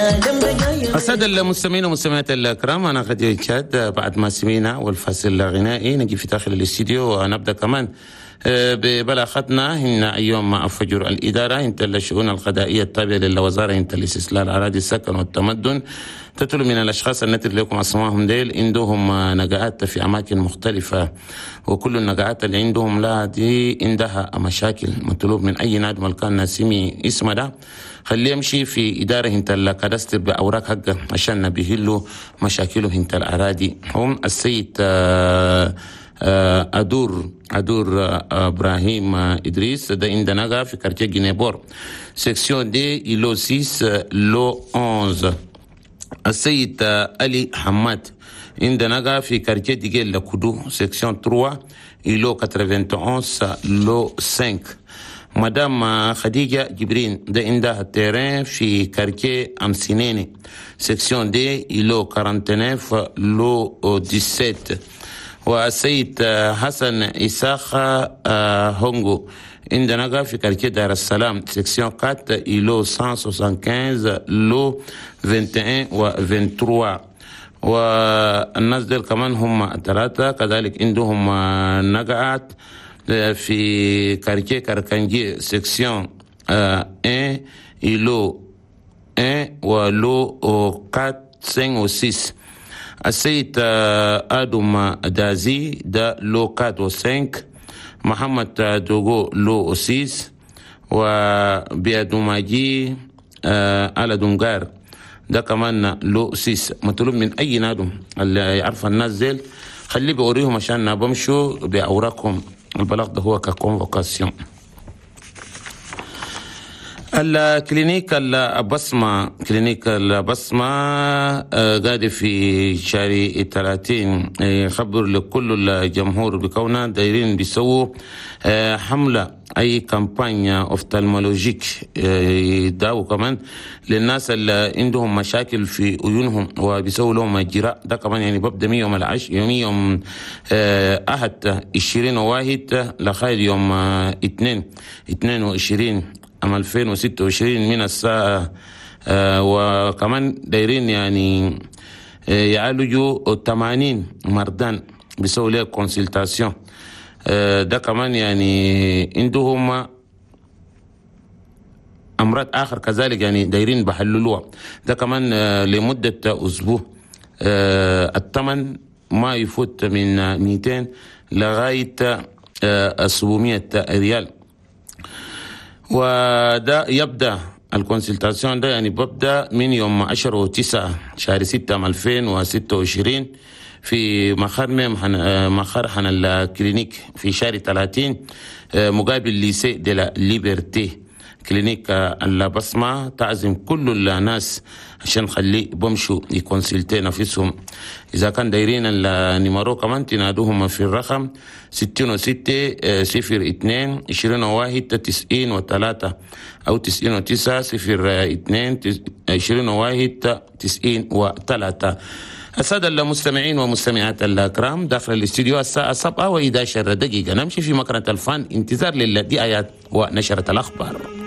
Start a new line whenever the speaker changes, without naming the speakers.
السادة المستمعين والمستمعات الكرام، أنا خديجة شاد. بعد ما سمينا والفاصل الغنائي نجي في داخل الاستديو ونبدأ كمان ببلاغتنا. هن يوم فجر الإدارة انت الشؤون القضائية التابعة للوزارة انت الاستسلال أراضي السكن والتمدن تطلب من الأشخاص التي لكم أسمائهم ديل عندهم نقعات في أماكن مختلفة، وكل النقعات اللي عندهم لا دي عندها مشاكل. مطلوب من أي نادم كان نسمي اسمه ده خليه يمشي في إدارة انت ال cadastre بأوراق حقه عشان نبيهلو مشاكله انت الأراضي. هم السيد أدور إبراهيم إدريس ده عندنا في quartier Guinée-Port section D îlot 6 lot 11. السيد علي حماد عندنا في quartier ديجيل لكودو section 3 îlot 91 lot 5. مدام خديجة جبرين ده عندها terrain في quartier أمسينيني section D îlot 49 lot 17. والسيد حسن إساخ هونغو عندنا في quartier دار السلام section 4 îlot 175 lot 21 و 23. والناس ديل كمان هم ثلاثة كذلك عندهم نقعات في quartier كركنجي section 1 îlot 1 و lot 4 5 و 6. السيد آدم دازي ده lot 4 و 5. محمد دوغو lot 6. وبيادوماجي على دونغار ده كمان lot 6. مطلوب من أي نادم اللي يعرف الناس ديل خليه بوريهم عشان بمشوا بأوراقهم. البلاغ ده هو ك convocation. ال clinique البصمة، clinique البصمة قاعد في شارع 30 يخبر لكل الجمهور بكوننا دايرين بيسووا حملة أي campagne ophtalmologique يداووا كمان للناس اللي عندهم مشاكل في عيونهم وبيسووا لهم اجراء. ده كمان يعني ببدا من يوم العش يوم أحد 21 لغاية يوم 2 22 عام 2026 من الساعة وكمان دايرين يعني يعالجوا 80 مرضان بيسووا له consultation. ده كمان يعني عندهم امراض اخر كذلك يعني دايرين بحللوها. ده كمان لمده اسبوع. الثمن ما يفوت من 200 لغايه 700 ريال. وده يبدا ال consultation ده يعني ببدا من يوم 10 و9 شهر 6 2026 في مقر حن ال clinique في شارع 30 مقابل lycée de la Liberté. clinique البصمة تعزم كل الناس عشان خلي بمشوا ي consulter نفسهم. إذا كان دايرين ال numéro كمان تنادوهم في الرقم 66 02 21 93 أو 99 02 21 93. السادة المستمعين ومستمعات الكرام، داخل الاستديو الساعة 7:11. نمشي في مكنة الفن انتظار للدعايات ونشرة الأخبار.